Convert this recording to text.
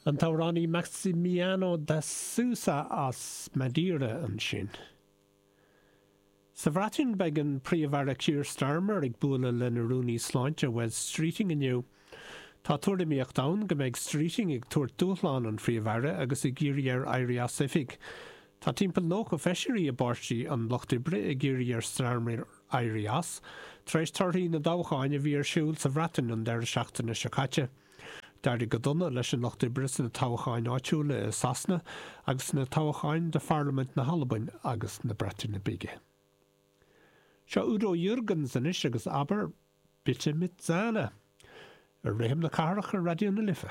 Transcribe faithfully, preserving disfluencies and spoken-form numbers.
An t-amhránaí Maximiano de Sousa as Madeira ansin. Sa Bhreatain beidh an Príomh-Aire Keir Starmer ag bualadh lena rúnaí sláinte Wes Streeting inniu. Tá tuairimíocht ann go mbeidh Streeting ag tabhairt dúshlán an Phríomh-Aire agus ag iarraidh air éirí as oifig. Tá timpeall nócha feisirí i bPáirtí an Lucht Oibre ag iarraidh ar Starmer éirí as, tar éis torthaí na dtoghchán a bhí ar siúl sa Bhreatain an deireadh seachtaine seo caite. D'éirigh go dona leis an Lucht Oibre sna toghcháin áitiúla i Sasana agus sna toghcháin do Pharlaimint na hAlban agus na Breataine Bige. Seo Udo Jürgens anois agus Aber bitte mit Sahne. Ar Rithim na Cathrach ar Raidió na Life.